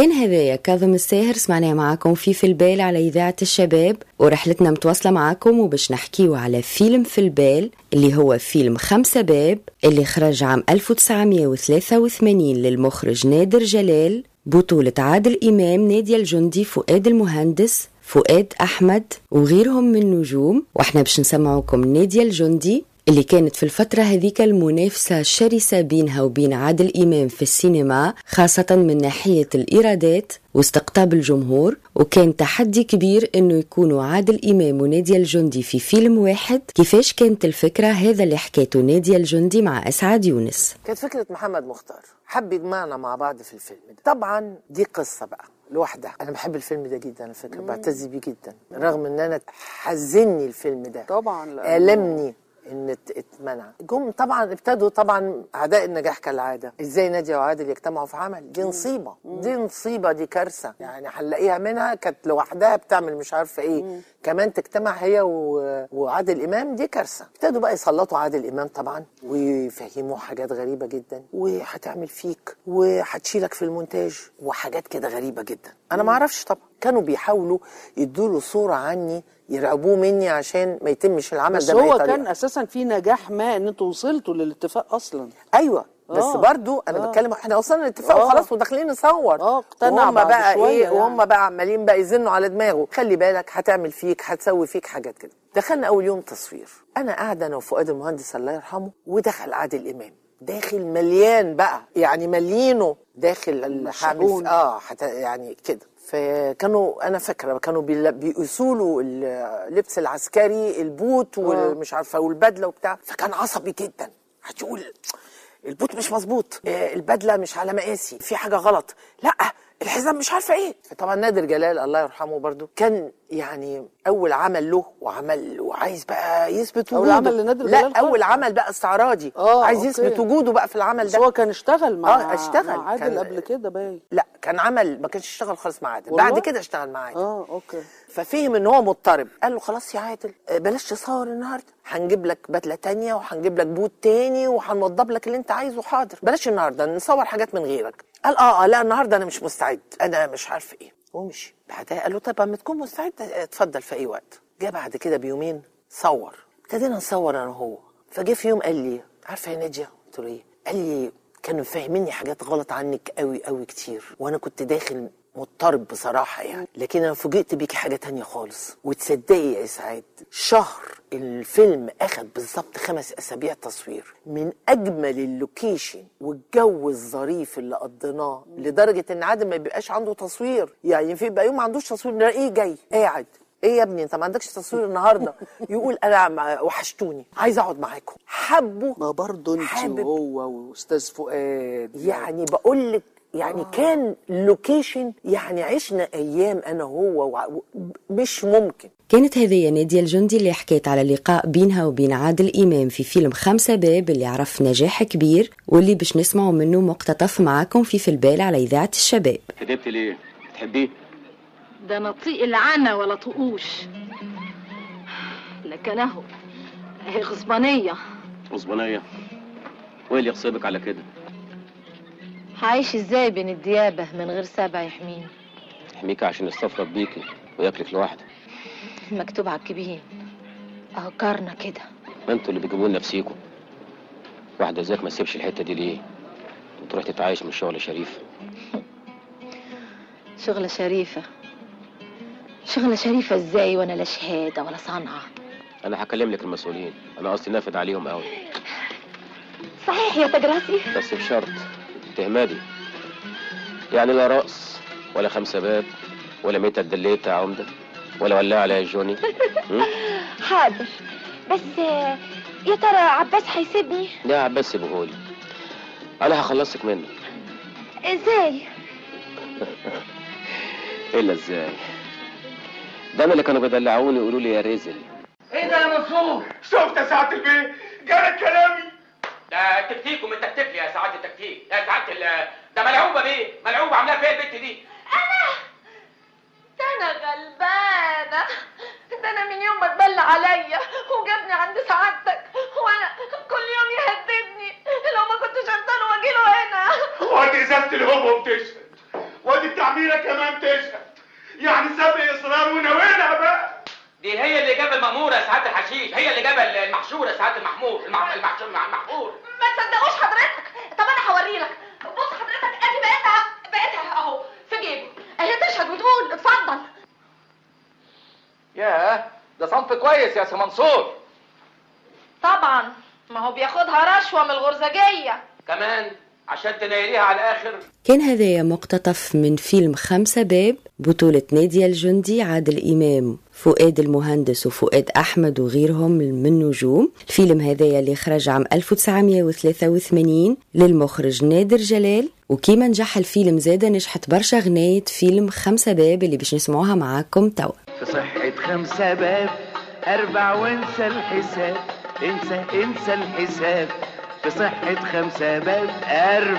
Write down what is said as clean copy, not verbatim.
كان هذايا كاظم الساهر، سمعناه معاكم في البال على إذاعة الشباب، ورحلتنا متواصلة معاكم وباش نحكيو على فيلم في البال اللي هو فيلم خمسة باب اللي خرج عام 1983 للمخرج نادر جلال، بطولة عادل إمام، نادية الجندي، فؤاد المهندس، فؤاد أحمد وغيرهم من نجوم. واحنا باش نسمعوكم نادية الجندي اللي كانت في الفترة هذيك المنافسة الشرسة بينها وبين عادل إمام في السينما، خاصة من ناحية الإيرادات واستقطاب الجمهور، وكان تحدي كبير إنه يكونوا عادل إمام ونادية الجندي في فيلم واحد. كيفاش كانت الفكرة؟ هذا اللي حكيته نادية الجندي مع أسعد يونس. كانت فكرة محمد مختار، حب يجمعنا مع بعض في الفيلم ده. طبعا دي قصة بقى لوحدها. أنا بحب الفيلم ده جدا على فكرة، بعتز بيه جدا، رغم إن أنا حزني الفيلم ده طبعا، ألمني ان اتمنع. جم طبعا ابتدوا طبعا اعداء النجاح كالعادة، ازاي نادية وعادل يجتمعوا في عمل؟ دي نصيبه، دي نصيبه، دي كارثة يعني، هنلاقيها منها كانت لوحدها بتعمل مش عارفه ايه، كمان تجتمع هي وعادل امام، دي كارثة. ابتدوا بقى يسلطوا عادل امام طبعا ويفهموه حاجات غريبة جدا، وهتعمل فيك وهتشيلك في المونتاج وحاجات كده غريبة جدا، انا ما اعرفش. طبعا كانوا بيحاولوا يدوا له صوره عني، يرعبوه مني عشان ما يتمش العمل بس ده. هو كان اساسا في نجاح، ما ان انتوا وصلتوا للاتفاق اصلا. ايوه بس برضو انا بتكلم احنا وصلنا للاتفاق وخلاص وداخلين نصور. اقتنع بقى شوية ايه يعني. وهم بقى عمالين بقى يزنوا على دماغه، خلي بالك هتعمل فيك، هتسوي فيك حاجات كده. دخلنا اول يوم تصوير، انا قاعدة انا وفؤاد المهندس الله يرحمه، ودخل عادل امام داخل مليان بقى يعني مليانة داخل الحامل يعني كده. فكانوا انا فاكره كانوا بيقيسوا له اللبس العسكري، البوت والمش عارفه والبدله وبتاع، فكان عصبي جدا، هتقول البوت مش مظبوط، البدلة مش على مقاسي، في حاجة غلط، لا الحزام مش عارفه ايه. فطبعا نادر جلال الله يرحمه برضو كان يعني اول عمل له وعمل وعايز بقى يثبت وجوده. اول عمل لنادر جلال؟ لا اول عمل بقى استعراضي، عايز يثبت وجوده بقى في العمل ده. بس هو كان اشتغل مع اشتغل مع عادل قبل كده باين. لا كان عمل، ما كانش اشتغل خالص مع عادل، بعد كده اشتغل مع عادل. okay. ففهم ان هو مضطرب، قال له خلاص يا عادل بلاش تصور النهارده، هنجيب لك بدله تانية وهنجيب لك بوت تاني وهنوضب لك اللي انت عايزه، حاضر، بلاش النهارده نصور حاجات من غيرك. قال لا النهارده انا مش مستعد، انا مش عارف ايه، ومشي. بعدها قال له طب اما تكون مستعد اتفضل في اي وقت. جه بعد كده بيومين صور، ابتدينا نصور انا وهو. فجه في يوم قال لي عارفه يا ناديه؟ قلت له ايه؟ قال لي كانوا فاهميني حاجات غلط عنك قوي قوي كتير، وانا كنت داخل مضطرب بصراحة يعني، لكن انا فوجئت بيكي حاجة تانية خالص. وتصدقي يا اسعاد، شهر الفيلم اخد بالظبط 5 اسابيع تصوير، من اجمل ال location والجو الظريف اللي قضيناه، لدرجة ان عادل ما بيبقاش عنده تصوير، يعني في بقى يوم ما عندوش تصوير نلاقيه جاي قاعد، ايه يا ابني انت ما عندكش تصوير النهارده؟ يقول انا وحشتوني، عايز اقعد معاكم. حبوا ما برضه انت وهو واستاذ فؤاد يعني، بقول لك يعني كان location، يعني عشنا ايام انا وهو مش ممكن. كانت هذه نادية الجندي اللي حكيت على لقاء بينها وبين عادل إمام في فيلم خمسة باب اللي عرف نجاح كبير، واللي باش نسمعوا منه مقتطف معاكم في البال على إذاعة الشباب. كدبت ليه؟ تحبيه؟ ده نطيق العنا ولا طقوش، لكن اهو هي غصبانية. غصبانية؟ وايه اللي يغصبك على كده؟ هعيش ازاي بين الديابة من غير سبع يحميني؟ يحميك عشان يستفرد بيكي وياكلك لوحده. مكتوب على الكبين اهو كارنا كده. ما انتوا اللي بتجيبوا لنفسيكوا. واحدة زيك ما تسيبش الحتة دي ليه؟ وتروح تتعايش من شغل شريف. شغلة شريفة؟ شغلة شريفة ازاي وانا لا شهادة ولا صنعة؟ انا هكلم لك المسؤولين، انا قصدي نافد عليهم قوي. صحيح يا تجراسي؟ بس بشرط تهمادي، يعني لا رقص ولا خمسة باب ولا ميتة الدليت يا عمدة ولا ولاعة يا جوني. حاضر، بس يا ترى عباس هيسيبني؟ لا عباس سيبهولي، انا هخلصك منه. ازاي؟ الا ازاي؟ ده انا اللي كانوا بيدلعوني يقولوا لي يا رزل. ايه ده يا منصور؟ شفت يا سعادة البيه؟ جالك كلامي. ده تكتيك ومن تكتيك يا سعادة التكتيك، يا سعادة ده ملعوبه بيه، ملعوبه عاملاها فيها البت دي. انا ده انا غلبانه، ده انا من يوم ما اتبلى عليا وجابني عند سعادتك وانا كل يوم يهددني لو ما كنتش ارضى واجي له هنا. وادي ازازة الهبوب تشهد، وادي التعميره كمان تشهد، يعني سابق اصرار وناويلها بقى. دي هي اللي جاب المأمورة يا سعادة الحشيش، هي اللي جاب المحشورة يا سعادة المحمور، المحشور المحمور. ما تصدقوش حضرتك. طب انا هوري لك. بص حضرتك، ادي بقيتها اهو في جيبه، اهي تشهد وتقول. اتفضل. ياه، ده صنف كويس يا سي منصور. طبعا، ما هو بياخدها رشوة من الغرزجيه كمان عشان تنيليها على الاخر. كان هذايا مقتطف من فيلم 5 باب، بطولة نادية الجندي، عادل إمام، فؤاد المهندس وفؤاد أحمد وغيرهم من نجوم. الفيلم هذايا اللي خرج عام 1983 للمخرج نادر جلال. وكيما نجح الفيلم زادة نجحت برشا غناية فيلم 5 باب اللي باش نسمعوها معاكم توا. في صحة 5 باب 4 وانسى الحساب، انسى انسى الحساب. في صحة 5 باب 4